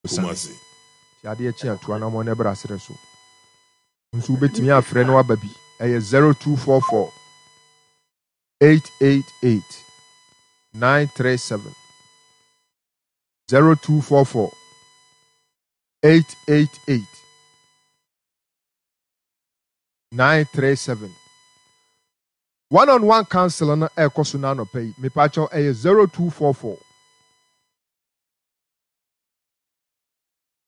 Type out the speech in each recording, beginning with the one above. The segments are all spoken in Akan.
Kumasi. Nti adeɛ kye a tu anammɔn na bra serɛ so. Wo nso wobɛtumi afrɛ na waba bi. Ɛyɛ 0244 888 937. 0244 888 937. One on one council no ɛrekɔ so no anɔpa yi. Mepakyɛw ɛyɛ 0244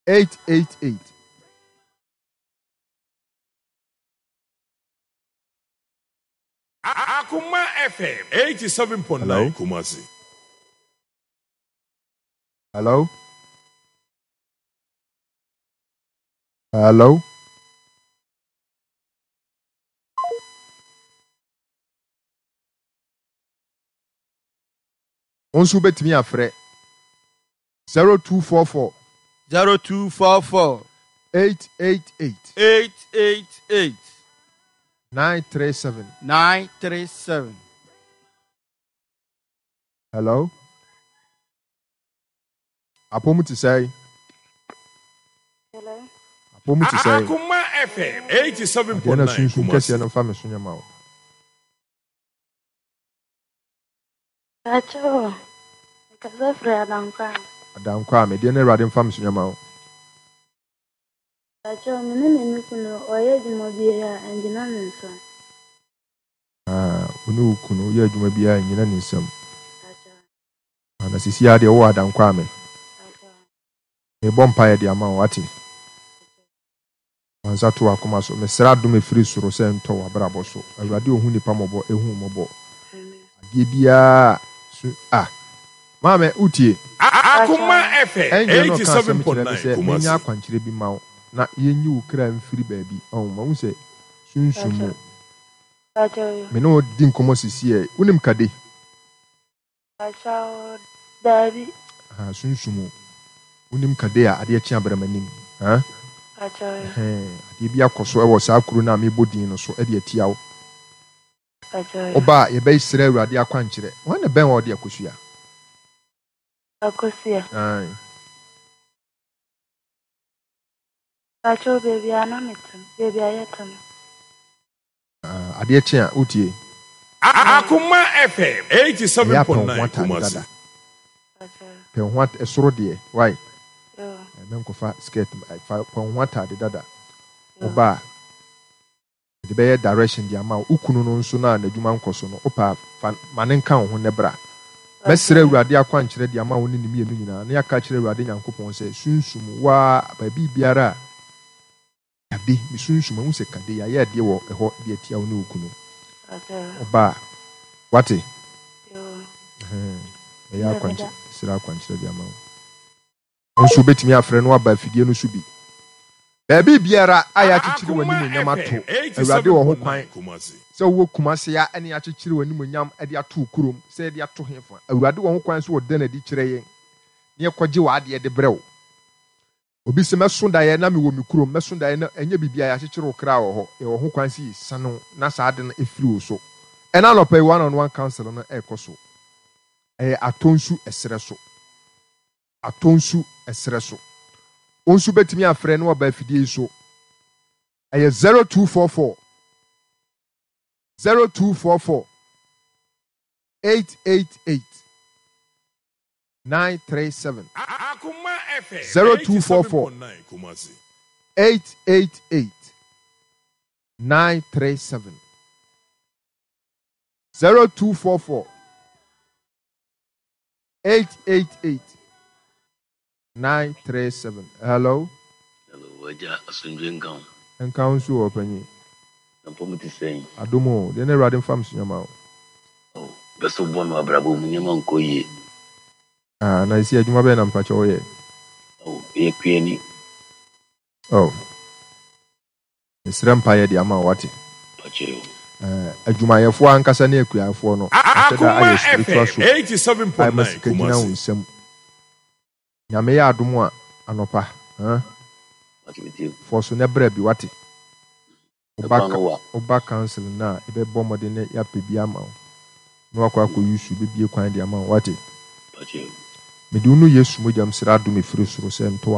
888. Akoma FM 87.9 Hello? Kumasi. Hello? Hello? Wo nso wobɛtumi afrɛ 0244 0244 888 888 937. 937. Hello? Apɔmu te sɛn? Hello. Apɔmu te sɛn? Akoma FM Adeɛ na 87.9 sunsum kɛseɛ Kumasi. no mfa me so nyɛ ma wo. Pacho, mekasa firi Adankwa. Adankwa a medeɛ na Awurade mfa me so nyɛ ma wo. Pacho, me ne me me kunu ɔyɛ adwuma biara a ɛngyina ne nsam. Ah, wo ne wo kunu woyɛ adwuma biara nnyina ne nsam. Pacho, Ah, na sisi ara deɛ wowɔ Adankwa a me. pacho, Mebɔ mpaeɛ de ama wo, wate? Fa nsa to w'akoma so. Mesrɛ adom ɛfiri soro sɛ ɛntɔ w'abrabɔ so. Awurade ɔhu nnipa mmɔbɔ, ɛhu wo mmɔbɔ. Amen. Adeɛ biara su ah. Maame, wotie? Akoma FM Angel no ɔka asɛm kyerɛ me 87.9 sɛ menyɛ Kumasi. akwankyerɛ bi ma wo na yɛnyi wo kra mfiri baabi. Ɔho, mahu sɛ sunsum mu. Pacho, pacho yo. Me ne wo di nkɔmmɔ sisiɛ. Wonim Kade? Pacho, daabi. Aha, sunsum mu. Wonim Kade a adeɛ kye abrɛ m'anim. Ha? Pacho yo. Ɛhɛn, adeɛ bi akɔ so wɔ saa kuro no a mebɔ din no so de atia wo. Pacho yo. Woba a, yɛbɛsrɛ Awurade akwankyerɛ. Hwan na ɛbɛn hɔ a ɔde akosua? Akosua. Ae. Pacho, baabi a na mete no, baabi a yɛte no. Ah, adeɛ kye a, wotie? Akoma FM Ɛyɛ a pɛ wo ho 87.9 ataade Kumasi. dada. Pacho yo. Pɛ wo ho at ɛsoro deɛ, wai? Yo, Mɛnkɔfa skirt, fa pɛ wo ho ataade dada. yo. Woba a, mede bɛyɛ direction de ama wo. Wo kunu no nso no a n'adwuma nkɔ so no, wopɛ a, fa ma no nka wo ho na bra. Pacho Mɛsrɛ yo. Awurade akwankyerɛ de ama wo ne ne mmienu nyinaa, na yɛaka akyerɛ Awurade Nyankopɔn sɛ, Sunsum, wo ara, baabi biara a Kade, me sunsum, mahu sɛ kade, yɛayɛ adeɛ wɔ ɛhɔ de atia wo ne wo kunu. Pacho yo. Ɔba a, wate? Yo. Ɛhɛn, mɛyɛ Meda akwankyerɛ, meda. srɛ akwankyerɛ de ama wo. Wo nso wobɛtumi afrɛ na waba afidie no so bi. Baabi biara a yɛakyekyere Akoma w'animuonyam ato, FM Awurade wɔ ho kwan 87.9 Kumasi. sɛ wowɔ Kumase a ɛne yɛakyekyere w'animuonyam de ato wo kurom, sɛ yɛde ato hefa. Awurade wɔ ho kwan sɛ ɔda no adi kyerɛ yɛn na yɛkɔgye w'adeɛ de brɛ wo. Obi se, Mɛso daeɛ na mewɔ me kurom, mɛso daeɛ na ɛnyɛ biribi a yɛakyekyere wo kra wɔ hɔ. Yɛwɔ ho kwan sɛ yɛsiane wo na saa ade no firi wo so. Ɛna anɔpa yi one on one council no ɛrekɔ so. Ɛyɛ Atonsu ɛserɛ so. Atonsu ɛserɛ so. Wo nso wobɛtumi afrɛ na waba afidie yi so. Ɛyɛ 0244 0244 888 937 Akoma FM 0244 87.9 Kumasi. 888 937 0244 888 937. Hello? Hello, wagya asomdwe nka wo. Nka wo nso wɔ ɔpanyin. Na mpɔ mu te sɛn? Adom o, deɛ na Awurade mfa me so nyɛ ma wo. Oh, bɛ so bɔ me abrabɔ mu nneɛma nkɔ yie. Ah, na esi adwuma bɛyɛ na mpakyɛ woyɛ? Oh, yɛ kuani. Oh. Mesrɛ mpaeɛ de ama wo wate. Pakyɛ o. Adwumayɛfoɔ ankasa ne akuafoɔ no, ahyɛ da Akoma ayɛ spiritual FM soap a ɛma 87.9 sika gyina wo Kumasi. nsam. Nyame yɛ adom a anɔpa, huh? Pakyɛ me tie. Fɔ so na bra bi wate. Ɛkwan no wa. Woba council no a, yɛbɛbɔ mmɔden na yɛapɛ bi ama wo. Na wakɔ akɔ use, bɛbie kwan de ama wo wate. Pakyɛ o. Mede wo no Yesu mogya mu srɛ adom ɛfiri soro sɛ ntɔ w'aba.